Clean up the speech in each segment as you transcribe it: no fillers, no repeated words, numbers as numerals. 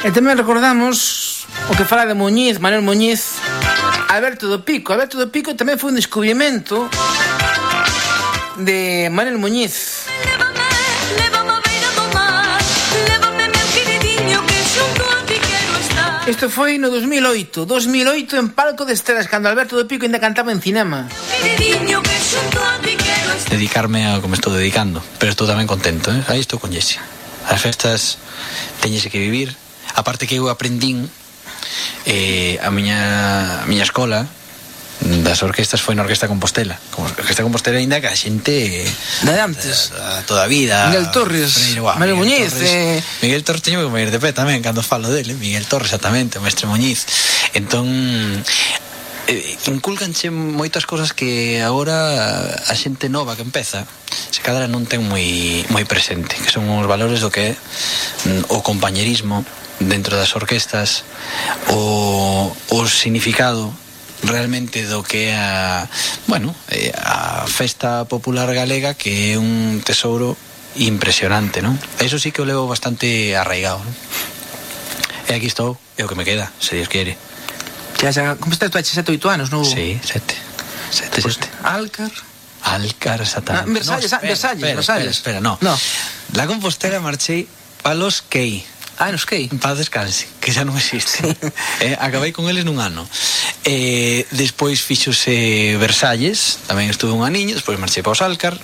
E tamén recordamos o que fala de Muñiz, Manuel Muñiz, Alberto do Pico. Alberto do Pico tamén foi un descubrimento de Manuel Muñiz. Isto foi no 2008 en Palco de Estrelas, cando Alberto do Pico ainda cantaba en cinema. Dedicarme a como estou dedicando, pero estou tamén contento, Aí estou con Jessie. As festas teñese que vivir. Aparte que eu aprendín a miña escola das orquestas foi na Orquesta Compostela. Como Orquesta Compostela ainda que a xente de antes, toda a vida. Miguel Torres, Manuel Muñiz, Miguel Torres teño que mover de pé tamén cando falo dele. Miguel Torres, exactamente, o mestre Muñiz. Entón inculcanche moitas cosas que agora a xente nova que empeza se cadra non ten moi presente, que son os valores do que é o compañerismo dentro das orquestas, o significado realmente do que é a festa popular galega, que é un tesouro impresionante, non? Eso sí que o levo bastante arraigado, non? E aquí estou, é o que me queda, se Dios quiere. Como estás tú, 7 ou 8 anos, non? Sí, 7. Alcar, exactamente. Versalles. Espera, no. La Compostela marchei a los Key. Nos Key. En paz descanse, que xa non existe. Acabei con eles nun ano. Despois fíxose Versalles, tamén estuve un aniño, despois marchei para os Alcar.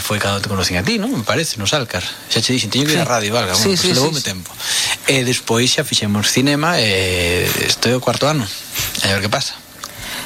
Foi cando te conocín a ti, non? Me parece, nos Alcar. Xa che dixen, teño que ir a radio, valga, levoume tempo. Despois xa fixemos cinema, estou o 4º ano. A ver que pasa.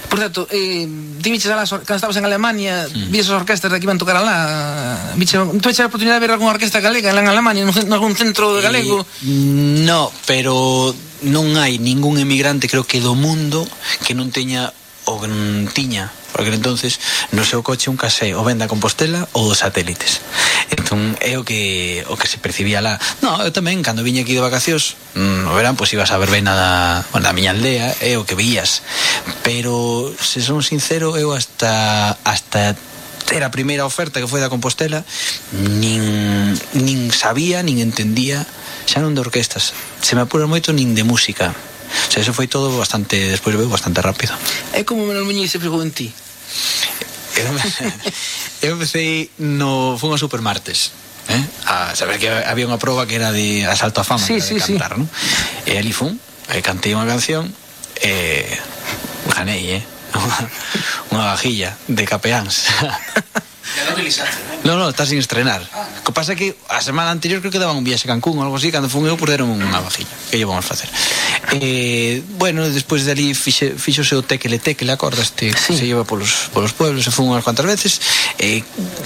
Por certo, ti viches cando estabas en Alemania, viches as orquestas que iban tocar alá, tu viches a oportunidade de ver algunha orquesta galega en Alemania, en algún centro galego? No, pero non hai ningún emigrante, creo que do mundo, que non teña o que non tiña, porque entonces no seu coche un casé o venda Compostela ou dos satélites. Entón é o que se percibía lá. No, eu tamén, cando viña aquí de vacacións no verán, pois ibas a verbena da miña aldea, é o que vías. Pero, se son sincero, eu hasta ter a primeira oferta que foi da Compostela nin sabía, nin entendía xa non de orquestas, se me apuran moito, nin de música. O sea, eso foi todo bastante, despois veo, bastante rápido. É como Manuel Muñiz se fijou en ti. Eu empecé fui a Supermartes, a saber que había unha proba que era de asalto a fama, de cantar, non? E ali fun, cantei unha canción, ganei, unha vajilla de capeáns. Ya non utilizaste, non? No, está sin estrenar. O que pasa é que a semana anterior creo que daban un viaxe a Cancún ou algo así, cando fun eu perderon unha vajilla. Que lle vamos facer? Bueno, despois de ali fixose o tequele, acordaste? Se lleva polos pueblos, se fun unhas cuantas veces,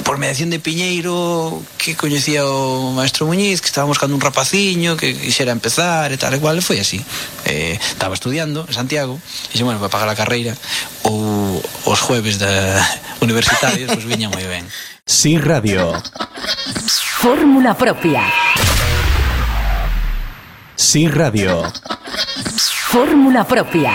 por mediación de Piñeiro, que coñecía o maestro Muñiz, que estaba buscando un rapaciño que quixera empezar e tal e cual, e foi así. Estaba estudiando en Santiago, e xe, bueno, para pagar a carreira ou os jueves universitarios, pois viña moi ben. Sí Radio. Fórmula propia. Sí Radio. Fórmula propia.